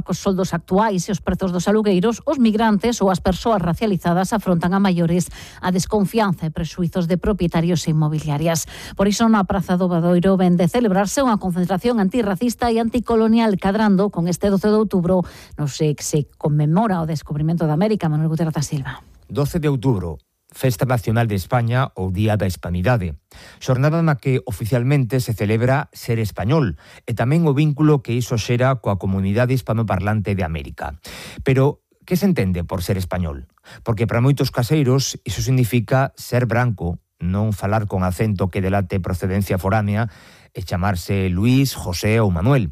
cos soldos actuais e os prezos dos alugueiros, os migrantes ou as persoas racializadas afrontan a maiores a desconfianza e prexuizos de propietarios e inmobiliarias. Por iso, na Praza do Obradoiro ven de celebrarse unha concentración antirracista e anticolonial cadrando con este 12 de outubro, no que se conmemora o descubrimento da América. Manuel Gutiérrez da Silva. 12 de outubro, Festa Nacional de España ou Día da Hispanidade. Xornada na que oficialmente se celebra ser español e tamén o vínculo que iso xera coa comunidade hispanoparlante de América. Pero que se entende por ser español? Porque para moitos caseiros iso significa ser branco, non falar con acento que delate procedencia foránea e chamarse Luís, José ou Manuel.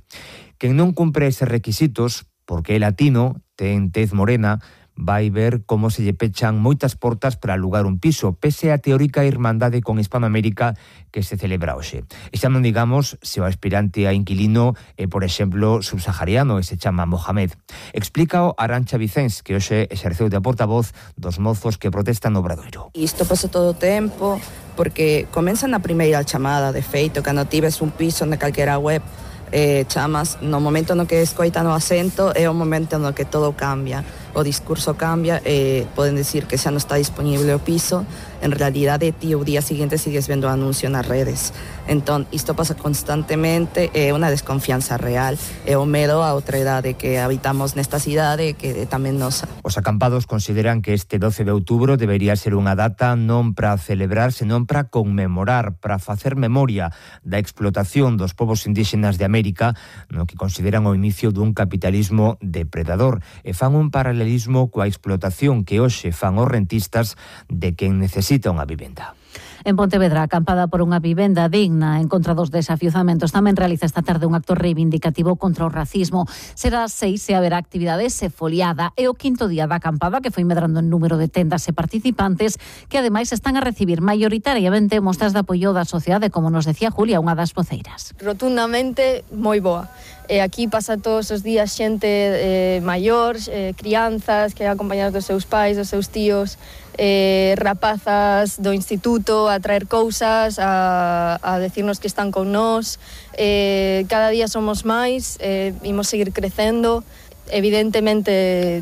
Quen non cumpre eses requisitos, porque é latino, ten tez morena, vai ver como se lle pechan moitas portas para alugar un piso, pese a teórica irmandade con Hispanoamérica que se celebra hoxe. E xa non digamos se o aspirante a inquilino é, por exemplo, subsahariano e se chama Mohamed. Explícao Arantxa Vicens, que hoxe exerceu de portavoz dos mozos que protestan no Obradoiro. Isto pasa todo o tempo, porque comeza na primeira chamada, de feito, cando tives un piso na calquera web, chamas, no momento no que escoitan o acento é o momento no que todo cambia, o discurso cambia, poden decir que xa non está disponible o piso, en realidade ti o día seguinte sigues vendo o anuncio nas redes. Entón, isto pasa constantemente, é unha desconfianza real, é o medo a outra idade que habitamos nesta cidade que é tamén nosa. Os acampados consideran que este 12 de outubro debería ser unha data non para celebrar, senón para conmemorar, para facer memoria da explotación dos povos indígenas de América, no que consideran o inicio dun capitalismo depredador, e fan un paralelismo coa explotación que hoxe fan os rentistas de quen necesita unha vivenda. En Pontevedra, acampada por unha vivenda digna en contra dos desafiuzamentos, tamén realiza esta tarde un acto reivindicativo contra o racismo. Será 6 e haberá actividades e foliada. É o quinto día da acampada, que foi medrando en número de tendas e participantes, que ademais están a recibir maioritariamente mostras de apoio da sociedade, como nos decía Julia, unha das voceiras. Rotundamente moi boa. Aquí pasa todos os días xente maior, crianzas que acompañadas dos seus pais, dos seus tíos, rapazas do instituto a traer cousas, a decirnos que están con nós. Cada día somos máis, imos seguir crecendo. Evidentemente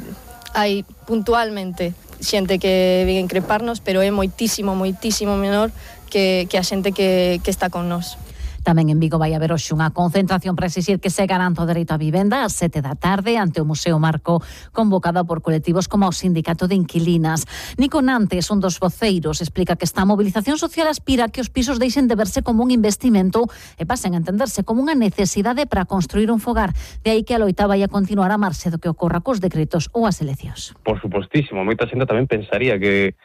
hai puntualmente xente que vén increparnos, pero é moitísimo menor que a xente que está con nós. Tamén en Vigo vai haber hoxe unha concentración para exixir que se garanta o dereito á vivenda ás 7 da tarde ante o Museo Marco, convocada por colectivos como o Sindicato de Inquilinas. Nico Nantes, un dos voceiros, explica que esta movilización social aspira a que os pisos deixen de verse como un investimento e pasen a entenderse como unha necesidade para construir un fogar. De aí que a loita vai a continuar a marxe do que ocorra cos decretos ou as eleccións. Por supostísimo, moita xente tamén pensaría que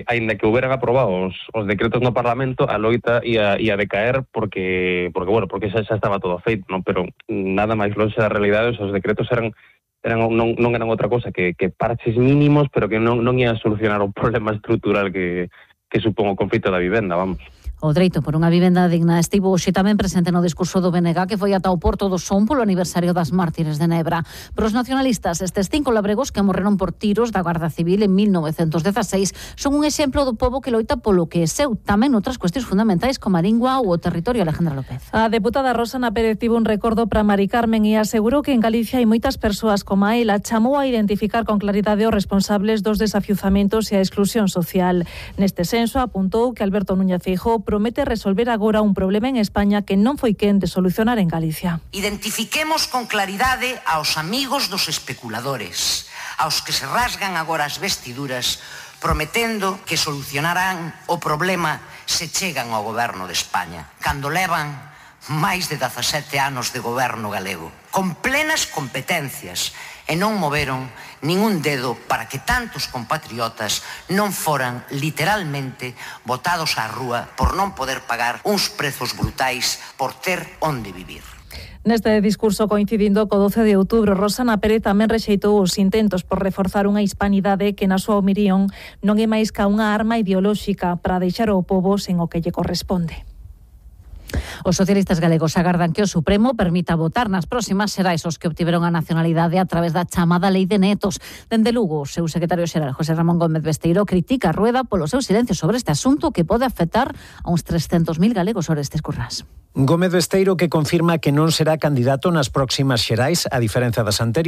aínda que houberan aprobado os decretos no Parlamento, a loita ia decaer porque xa estaba todo feito, non? Pero nada máis lonxe da realidade, os decretos non eran outra cosa que parches mínimos, pero que non ian solucionar o problema estrutural que supón o conflito da vivenda, vamos. O dereito por unha vivenda digna estivo hoxe tamén presente no discurso do BNG, que foi ata o Porto do Son polo aniversario das mártires de Nebra. Pero os nacionalistas, estes 5 labregos que morreron por tiros da Garda Civil en 1916, son un exemplo do pobo que loita polo que é seu, tamén outras cuestións fundamentais como a lingua ou o territorio. Alejandra López. A deputada Rosana Pérez tivo un recordo para Mari Carmen e asegurou que en Galicia hai moitas persoas como a ela. Chamou a identificar con claridade os responsables dos desafiuzamentos e a exclusión social. Neste senso, apuntou que Alberto Núñez Feijóo promete resolver agora un problema en España que non foi quen de solucionar en Galicia. Identifiquemos con claridade aos amigos dos especuladores, aos que se rasgan agora as vestiduras prometendo que solucionarán o problema se chegan ao goberno de España, cando levan máis de 17 anos de goberno galego, con plenas competencias, e non moveron ningún dedo para que tantos compatriotas non foran literalmente botados á rúa por non poder pagar uns prezos brutais por ter onde vivir. Neste discurso coincidindo co 12 de outubro, Rosana Pérez tamén rexeitou os intentos por reforzar unha hispanidade que na súa opinión non é máis ca unha arma ideolóxica para deixar o pobo sen o que lle corresponde. Os socialistas galegos agardan que o Supremo permita votar nas próximas xerais os que obtiveron a nacionalidade a través da chamada Lei de Netos. Dende Lugo, o seu secretario xeral, José Ramón Gómez Besteiro, critica a Rueda polo seu silencio sobre este asunto que pode afectar a uns 300.000 galegos Orestes Currás. Gómez Besteiro que confirma que non será candidato nas próximas xerais, a diferenza das anteriores.